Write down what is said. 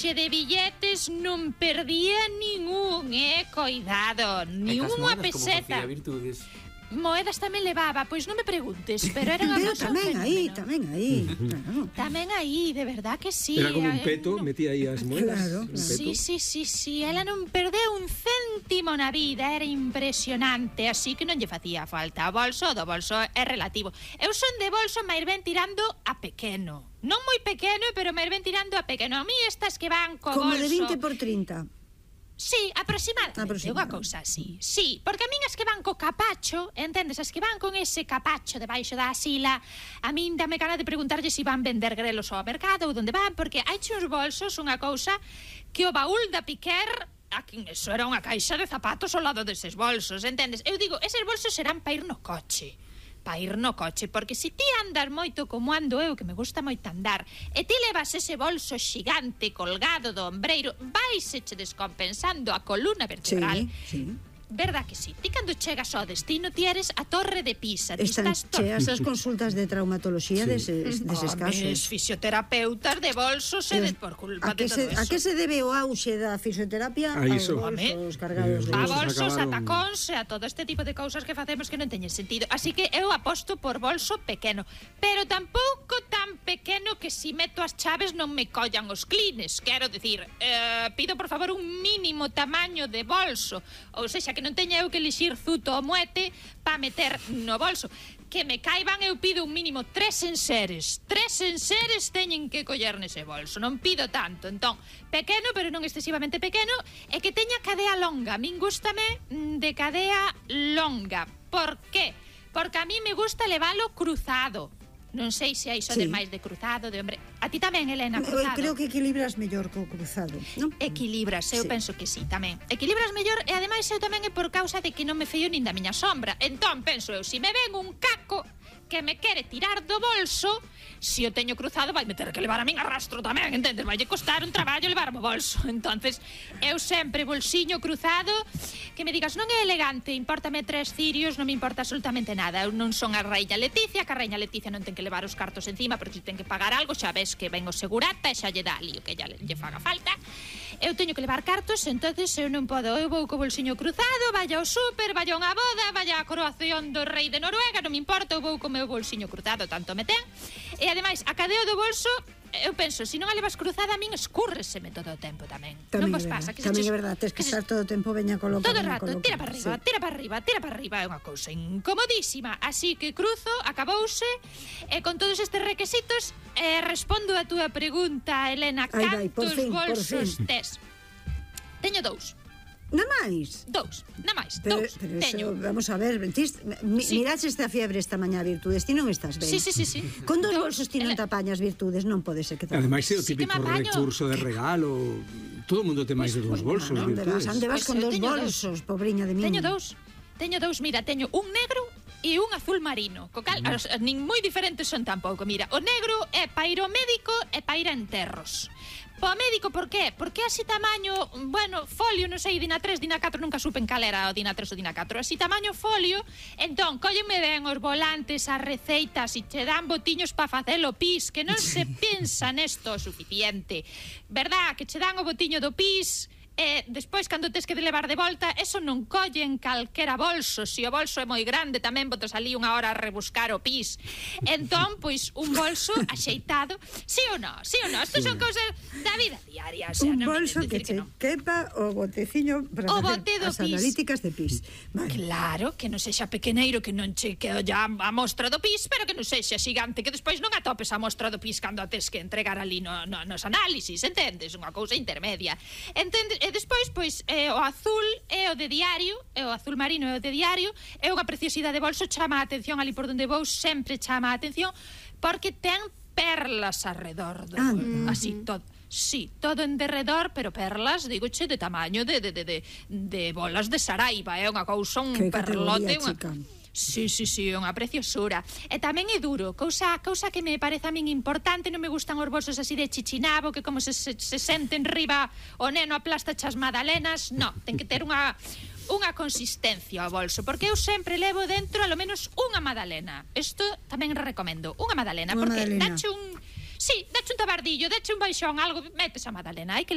de billetes non perdía ningún, coidado, ni unha peseta. Moedas tamén levaba, pois non me preguntes, pero era unha cosa tamén aí. Tamén aí, de verdad que sí. Era como un peto, metía aí as moedas. Sí, ela non perdeu un céntimo na vida, era impresionante, así que non lle facía falta. O do bolso é relativo. Eu son de bolso máis ben tirando a pequeno. Non moi pequeno, pero máis ben tirando a pequeno. A mí estas que van co bolso... Como de 20 por 30. Sí, aproximadamente, unha cousa así. Sí, porque a min as que van co capacho, entendes, as que van con ese capacho debaixo da asila, a min dame gana de preguntarlle se van vender grelos ao mercado ou onde van, porque hai uns bolsos, unha cousa, que o baúl da Piquer, eso era unha caixa de zapatos ao lado deses bolsos, entendes? Eu digo, eses bolsos serán para ir no coche, porque se ti andas moito como ando eu, que me gusta moito andar, e ti levas ese bolso xigante colgado do ombreiro, vais-se descompensando a columna vertebral. Sí. Verdad que sí? Ti cando chegas ao destino ti eres a Torre de Pisa. Están cheas as consultas de traumatoloxía deses casos. Fisioterapeutas de bolsos e por culpa de todo eso. A que se debe o auxe da fisioterapia aos bolsos cargados de a bolsos, a tacóns e a todo este tipo de cousas que facemos que non teñen sentido. Así que eu aposto por bolso pequeno, pero tampouco tan pequeno que si meto as chaves non me collan os clines. Quero dicir, pido por favor un mínimo tamaño de bolso, ou sexa, que non teña eu que elixir zuto ou moete para meter no bolso. Que me caiban, eu pido un mínimo 3 enseres. 3 enseres teñen que coller nese bolso. Non pido tanto. Entón, pequeno, pero non excesivamente pequeno, e que teña cadea longa. A min gústame de cadea longa. Por qué? Porque a mí me gusta leválo cruzado. Non sei se hai sodes máis de cruzado, de hombre. A ti tamén, Elena, cruzado? Creo que equilibras mellor co cruzado, non? Equilibras, eu penso que sí, tamén. Equilibras mellor e ademais eu tamén é por causa de que non me fío nin da miña sombra. Entón, penso eu, se me ven un caco que me quere tirar do bolso, se o teño cruzado vai me ter que levar a min a rastro tamén, entendes? Vai costar un traballo levar o bolso. Entonces, eu sempre bolsiño cruzado, que me digas, non é elegante, importame 3 cirios, non me importa absolutamente nada. Eu non son a Raíña Leticia, que a Raíña Leticia non ten que levar os cartos encima, porque se ten que pagar algo, xa ves que ven o segurata e xa lle dá ali o que lle faga falta. Eu teño que levar cartos, entonces eu non podo, eu vou co bolsiño cruzado, vaya ao súper, vaya a unha boda, vaya a coroación do rei de Noruega, non me importa, eu vou co meu bolsiño cruzado, tanto me ten. E ademais, a cadeo do bolso, eu penso, se non a levas cruzada, a min escúrreseme todo o tempo tamén. Non vos pasa? Tamén é verdade, tens que estar todo o tempo veña colocado. Todo o rato, tira para arriba, é unha cousa incomodísima. Así que cruzo, acabouse, e con todos estes requisitos, respondo a túa pregunta, Elena, cantos bolsos tes? Teño 2. Na máis? Dous. Pero eso, vamos a ver, miraches esta fiebre esta mañá, Virtudes, ti non estás ben? Sí. Con 2 bolsos ti non te apañas, Virtudes, non pode ser que te ademais é o típico recurso de regalo. Todo o mundo ten máis de 2 bolsos, Virtudes. Onde vas con 2 bolsos, pobriña de min? Teño dous, mira, teño un negro e un azul marino, co cal nin moi diferentes son tampouco. Mira, o negro é para ir ao médico e para ir a enterros. Po médico, por qué? Porque así tamaño, bueno, folio, non sei, Dina 3, Dina 4, nunca supen cal era o Dina 3 ou Dina 4, así tamaño folio, entón, cóllenme ben os volantes, as receitas, e che dan botiños pa facelo pis, que non se pensa nesto o suficiente, verdad, que che dan o botiño do pis, e despois, cando tes que levar de volta, eso non colle en calquera bolso. Se o bolso é moi grande, tamén botas ali unha hora a rebuscar o pis. Entón, pois, un bolso axeitado, sí ou non? Isto son cousas da vida diaria. Un bolso que che quepa o boteciño para facer as analíticas de pis. Claro, que non sexa pequeneiro, que non che quedolla a mostra do pis, pero que non sexa xigante, que despois non atopes a mostra do pis cando a tes que entregar ali nos análisis, entendes? Unha cousa intermedia. Entendes? E despois, pois, o azul é o de diario, o azul marino é o de diario, é unha preciosidade de bolso, chama a atención ali por onde vou, sempre chama a atención, porque ten perlas arredor do bolso, así, todo. Sí, todo en derredor, pero perlas, digoche, de tamaño de bolas de Saraiva, é unha cousa, un perlote, Sí, unha preciosura. E tamén é duro, cousa que me parece a min importante, non me gustan os bolsos así de chichinabo, que como se senten riba o neno aplasta chas magdalenas, no, ten que ter unha consistencia ao bolso, porque eu sempre levo dentro a lo menos unha magdalena. Isto tamén recomendo, unha magdalena, porque dache un tabardillo, dache un baixón, algo, metes a magdalena, hai que